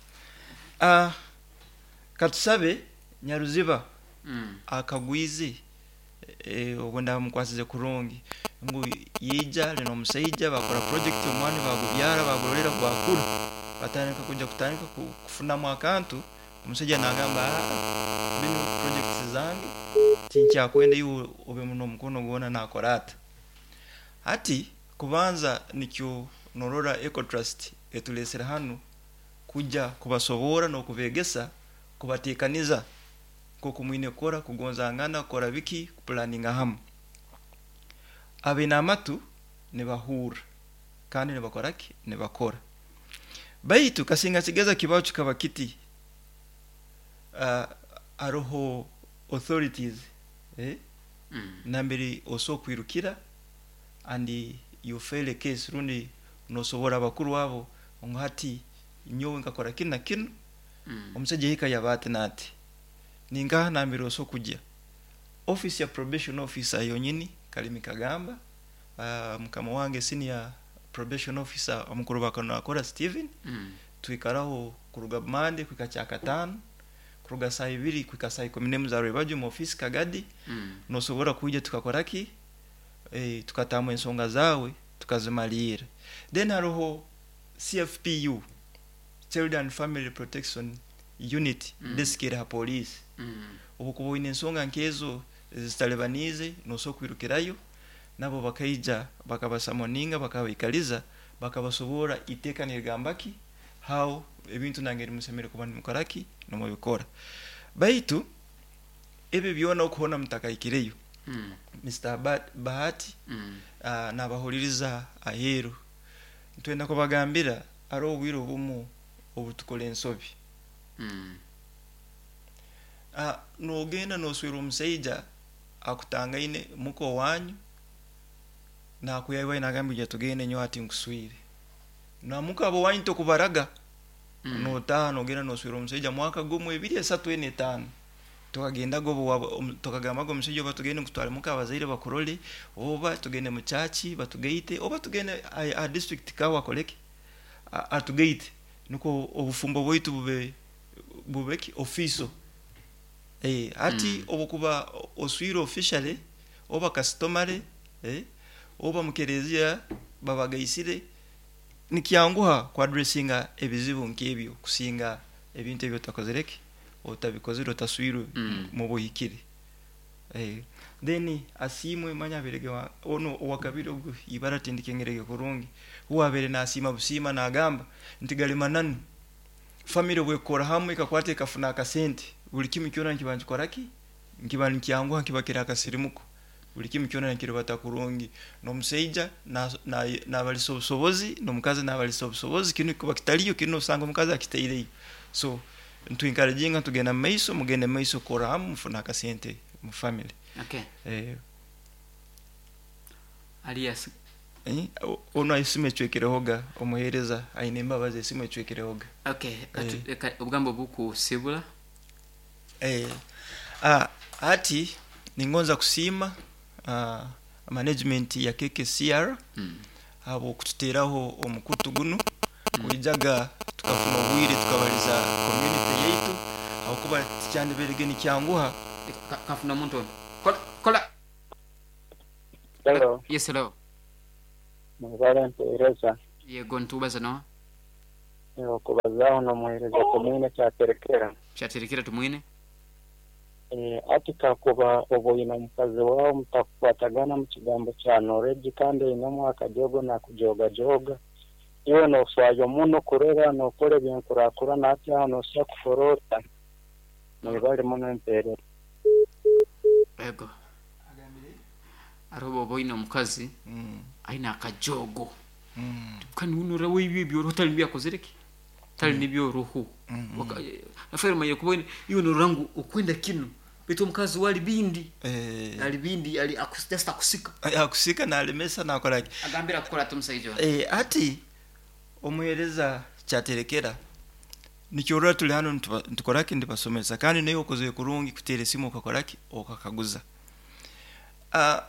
Uh, katusabe Nyaruziba mm. akagwize eh obwenda mukwasize kurungi ngu yija lino omusajja bakora project omwani bagubyara bagororera gwakura batandika kujja kutandika kufunamu akantu. Omusajja nagamba bino projects zange tinkyakwenda iwe obe muno omukono gwona nakora ata ati kubanza nikyo norora Eco Trust etulesera hano kujja kubasobora n'okubegesa kubatekaniza nk'oku mwine kukora kugonzangana kukora biki kupulaninga hamu abaine amatu nibahurra kandi nibakora ki nibakora baitu kasinga kigeza kibaho kikaba kiti Uh, aroho authorities eh mm. nambere oso kwirukira and you fail a case rundi nosobora abakuru abo ngo hati nyowe nkakora kino na kino mm. omusajja hika yabati nati ningaha nambere oso kujya office ya probation officer yonyini Kalimi Kagamba uh, mukama wange senior probation officer omukuru bakano akora Steven mm. twikaraho kuruga Monday kwika kyakatano kuruga saa ibiri kwika saa ikumi n'emu za rwebagyo mu office Kagadi mm. nosobora kuija tukakora ki eh, tukatamu ensonga zawe tukazimalira. Then hariho C F P U Child and Family Protection Unit mm. desk ha police mm. obukuba oine ensonga nkezo zitalebanize nosobola kwirukirayo nabo bakaija bakabasamoninga bakabaikaliza bakabasobora iteeka nirigambaki how ebintu nangeri musemere kuba nimukoraki nomubikora baitu ebyo byona okuhona mutakaikireyo mm. Mister Bahati mm. uh, nabahuliriza aheru ntwenda kubagambira ari obwire obumu obutukora ensobi mm. uh, nogenda noswera omusaija akutangaine muko wanyu nakuyaiwa nagambira tugende nyo ati nkuswire namuka abo wanyu tokubaraga mm. notaha nogenda noswera omusaija mwaka gumwe ebiri esatu ene etaano tukagenda gobo tukagamba go omusajja oba tugende kutwara muka abazaire bakurole oba tugende mu church batugeite oba tugende a, a district kawa koleke atugeite nuko obufumbo bwaitu bube bubeki ofiso eh ati Mm. obukuba oswire officially oba customary eh oba mukerezia babagaisire nikyanguha kwa addressinga ebizibu nkebyo kusinga ebintu ebyo takozereke otabikozere otaswirwe Mm. mu buhikire eh then asimwe manya berege wa ono owakabiri ogu ibara tindikengerege kurungi huwabere nasima busima nagamba nti galimananu family bwekora hamwe ikakwata ikafuna akasente buli kimu kyona nkiba nkikoraki nkiba nkyanguha nkibakira akasirimuko buli kimu kyona nkiribata kurungi n'omusaija nabalisa obusobozi n'omukazi nabalisa obusobozi kinu kuba kitaliyo kinu osanga omukazi akitaireyo so ntuencouraginga tugenda mumaiso mugende mumaiso kora hamu mufuna akasente mu family. Okay. Eh alias eh ono esimu ecwekerehoga omuhereza aine embabazi esimu ecwekerehoga. Okay, Eh. reka obugambo bukusibula Eh ah Ati ningonza kusiima uh, management ya K K C R Mm. habwokututeraho omukutu guno kuijaga tukafuna obwire tukabaliza community yaitu, habwokuba tikyandiberege nikyanguha. Ka- kafuna omuntu ono. Kola, kola. Hello, Yes, hello. mwebale mpeereza. Yego, ntubaza no. Okubazaaho n'omuheereza Tumwine Kyaterekera. Kyaterekera Tumwine. Eh, ati kakuba oba oyina mukazi waawe mutakukwatagana mu kigambo kya knowledge, kandi oyinemu akajogo nakujogajoga, iwe noofaayo muno kurora nokora ebyenkurakurana, ati aho nosobola kuforota. Mwebale muno empeereza. Yego, ariho boba oyina omukazi mm. aina akajogo mm. kandi unora weibyo ebyoroho tali nibyo akozere ki, tali nibyoruhu. Nafaire manye kuba iwe norora ngu okwenda kinu, baitu omukazi wali bindi Eh, ali bindi ali akus- just akusika. Akusika nalemesa nakoraki. Agambira kukora ati omusaija ono. Eh, ati omuheereza Kyaterekera, nikyorora tuli hano nituba- nitukoraki, ndibasomesa, kandi naye okozere kurungi kuteera esimu okakoraki okakaguza. uh,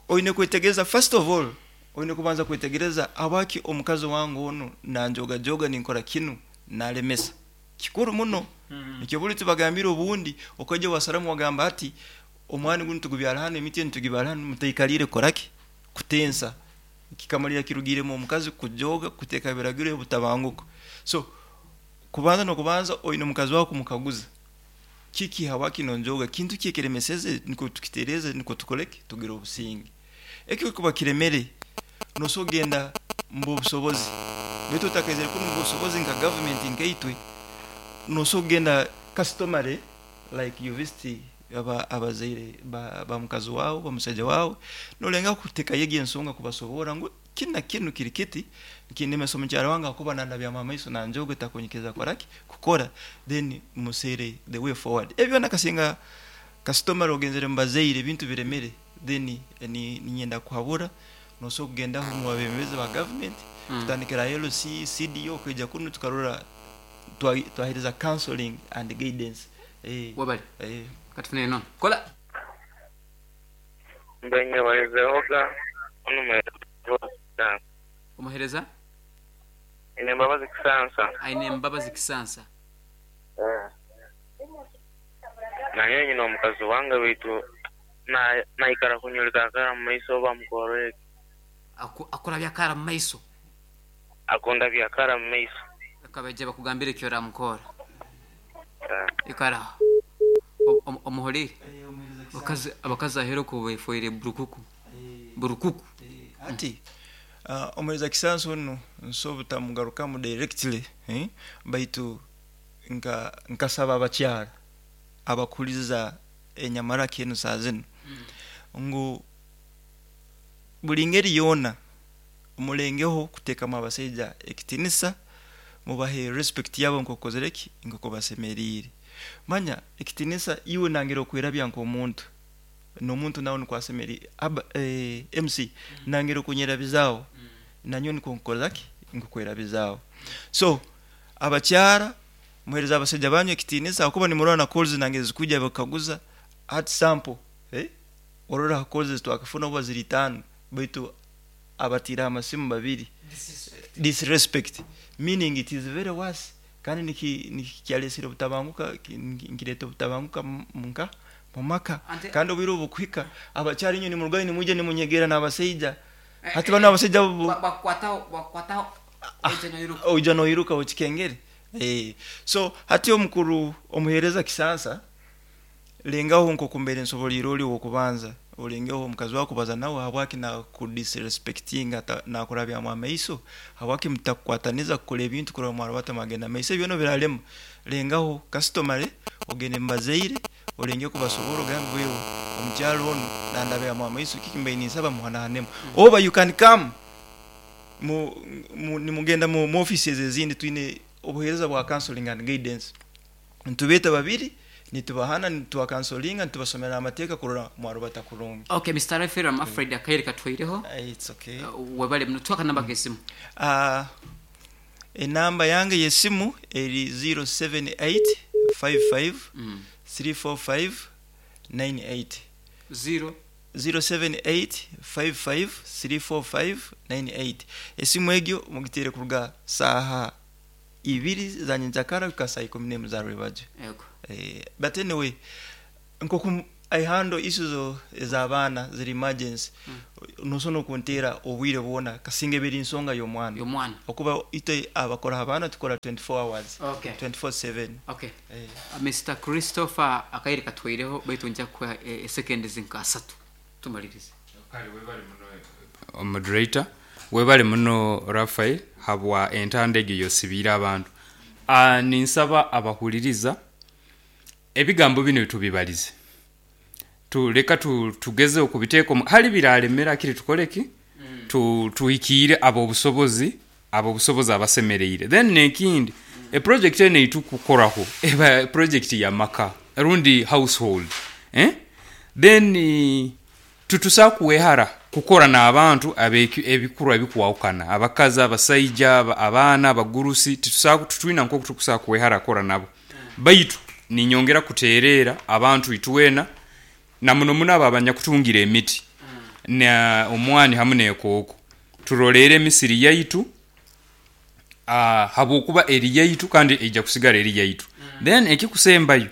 oine kwetegereza, first of all oine kubanza kwetegereza habwaki omukazi wange ono nanjogajoga, ninkora kinu nalemesa. Kikuru muno. Nikyo buli tubagambira, obundi okajja wasaramu wagamba ati omwani guno tugubyara hano, emiti enu tugibyara hano, mutaikalire kukoraki kutensa, kikamalira kirugiremu omukazi kujoga, kuteeka biragiro butabanguko. So kubanza nokubanza oine omukazi wawe kumukaguza kiki, habwaki nonjoga, kintu ki ekiremeseze, niko tukitereze, niko tukoleke tugire obusinge. Ekyo kuba kiremere, noso genda mu busobozi, baitu otakaizire kunu mu busobozi nka government nkaitwe, noso genda customary like you visit aba abazaire ba, ba mukazi wawe, bamusaija wawe, nolenga kuteka yegi ensonga kubasobora ngu kina kinu kiri kiti kindemesa omukyara wange akuba nandabya maiso nanjoga takunyikiriza koraki kukora, then musere the way forward. Ebyo nakasinga customary ogenzere mubazaire ebintu biremere, then ni ninyenda kuhabura noso kugendaho mu babembezi ba government, Mm. kutandikira L C, C D O, kwija kuno tukarora twa- twahereza counseling and guidance, eh, Wabali. eh. Katufune nono. Kola. Mbenye balizehoga ono muheereza Omuhereza ine Mbabazi Kisansa. Aine Embabazi Kisansa. Naye nyina omukazi wange baitu na- naikara kunyulika akara mu maiso oba mukoreki. Aku- akora byakara mu maiso. Akunda byakara mu maiso. Akabaija bakugambira ekyo oramukora. Eh. Ikara omuholire. Abakazi abakazi ahera ko befoire burukuku burukuku. Ati uh, omuhereza Kisansi ono nso butamugarukamu directly, eh? Baitu nka nkasaba abakyara abakuliza enyamaraki enu saa zinu ngu buli ngeri yoona mulengeho kuteekamu abasaija ekitinisa, mubahe respect yabo nkokozereki nkoko basemeriire. Manya ekitinisa iwe nangera okwerabya nk'omuntu n'omuntu nawe nikwo asemeriire aba eh, M C nangera okunyerabizaawo, nanyowe nikwo nkukozaki nkukwerabizaawo. So abakyara, muhereza abasaija banyu ekitinisa, akuba nimurora na calls nange zikuja bakaguza at sample, eh? Orora calls twakafuna oba ziri tano, baitu abatira amasimu babiri. Disrespect, meaning it is very worse, kandi niki nikyalesire obutabanguka, ki- nkireta obutabanguka mu- munka mumaka. Ante- Kandi obwire obukuhika abakyara inyo nimurugayo nimwija nimunyegera n'abasaija, hati bano abasaija bo- bakwataho bakwataho oija noiruka. Oija noiruka okikengere. Eh, so hati omukuru omuhereza Kisansa, lengaho nkokumbere nsobolire oli wokubanza olengeho omukazi wako kubaza nawe habwaki nakudisrespectinga, nakurabyamu amaiso, habwaki mutakukwataniza kukora ebintu kurora mwarubata mwagenda maiso. Ebyo biralema. Lengaho customary ogende mubazaire, olenge kubasobora, ogambe wewe omukyalo ono nandabyamu amaiso, kiki mbaire ninsaba muhanahanemu, oba you can come mu, mu, nimugenda mu, mu offices ezindi, twine obuheereza bwa counseling and guidance, nitubeeta babiri, nitubahana, nitubakansolinga, nitubasomera amateeka kurora mwarubata kurungi. Okay, Mister Raphael, I'm afraid akaire katwaireho. Eh, it's okay. Uh, webale muno, twaka namba kesimu. uh, enamba yange yesimu eri zero seven eight five five mm. three four five nine eight. Zero zero seven eight five five three four five nine eight. Esimu egyo mugiteere kuruga saaha ibiri za nyenkyakara kuhika saa ikumi n'emu za rwebagyo. Yego. Eh, but anyway, nkoku I handle issues o- ez'abaana ziri emergency, nosobola okunteera obwire bwona kasinga ebiri nsonga y'omwana. Y'omwana. Okuba itwe abakora abaana tukora twenty-four hours. Okay. twenty-four seven. Okay. Eh. Uh, Mister Christopher, akaire katwaireho, baitu nja kuha eh, seconds nka asatu tumalirize. Moderator, webale muno Rafael habwa entanda egyo yosibiire abantu. Uh, ninsaba abahuliriza ebigambo bino tubibalize, tuleka tu, tugeze okubiteeka omu- hali biralemera akiri tukoleki mm. tu, tuhikiire abo obusobozi, abo obusobozi abasemereire. Then nekindi, mm. eproject eno eitukukoraho eba project ya maka rundi household, eh? Then eh, tutusa kuwehara kukora n'abantu abeki- ebikurwa ebikuwahukana, abakazi, abasaija, aba-, abaana, abagurusi, titusa tutwina nko tukusa kuwehara kora nabo. Baitu ninyongera kuterera abantu itwena na muno muno abo abanyakutungira emiti na omwani hamu n'ekooko, turolere emisiri yaitu, ah, habwokuba eri yaitu kandi eija kusigara eri yaitu. Then ekikusembayo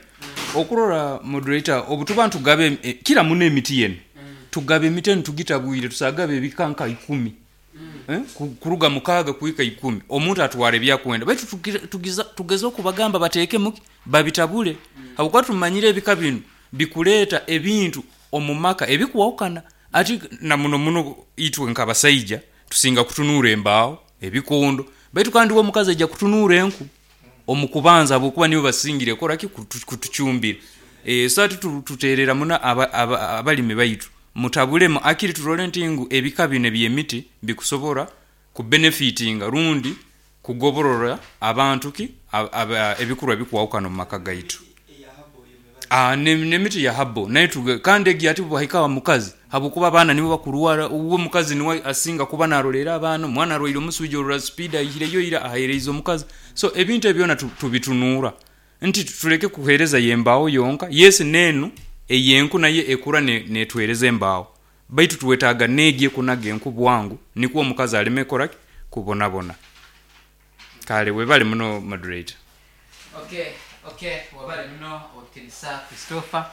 okurora moderator, obutuba ntugabe em-, eh, kira muno emiti yenu, tugabe emiti enu tugitabwire, tusagabe ebikanka ikumi. Eh, ku-, kuruga mukaaga kuhika ikumi, omuntu atwara ebyakwenda. Baitu tugira-, tugiza, tugeze okubagamba bateeke muki babitabule, habwokuba tumanyire ebika bino bikuleeta ebintu omu maka ebikuwahukana. Ati na muno muno itwe nk'abasaija tusinga kutunuura embaaho ebikondo, baitu kandi we omukazi ajja kutunuura enku omu kubanza, habwokuba nibo basingire koraki kutu-, kutucumbira. Eh, so ati tu-, tuteerera muno aba-, aba-, abalimi baitu mutabulemu akiri turole nti ngu ebika bino eby'emiti bikusobora kubenefitinga rundi kugoborora abantu ki ab-, ab-, ebikorwa ebikuwahukana omu maka gaitu. Ah, ne-, n'emiti ya habo naye tuge-, kandi egi ati bwahika mukazi, habwokuba abaana nibo bakurwara, uwo mukazi niwe asinga kuba narolera abaana, omwana arwaire omusujja orura speed ayihireyo ira aheereize omukazi. So ebintu ebyo byona tu-, tubitunuura nti tuleke kuheereza yembaawo yonka. Yes, neenu eyenku naye ekura ne-, netwereza embaawo, baitu tuwetaaga neegi ekunaga enku bwangu nikwo omukazi aleme koraki kubonabona. Kale webale muno moderator. Okay, okay, webale muno obutinisa Christopher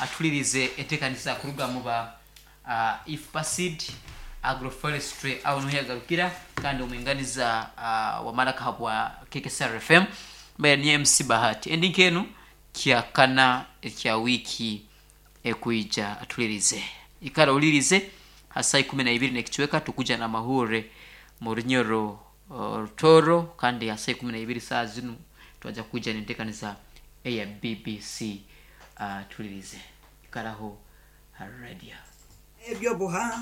atulirize enteekaniza kuruga mu ba, uh, IFPASEED agroforestry aho niho yagarukira, kandi omwinganiza, uh, wa Maraka habwa K K S R F M mbere ni M C Bahati. Endi nkenu kyakana ekya wiki ekuija atulirize ikara ulirize hasa ikumi na ibiri nekichweka tukuja na mahure mu Runyoro, uh, Rutoro, kandi hasa ikumi na ibiri saa zinu twaja kuja nentekaniza eya B B C. Uh, tulirize ikaraho radio ebyo buhanga.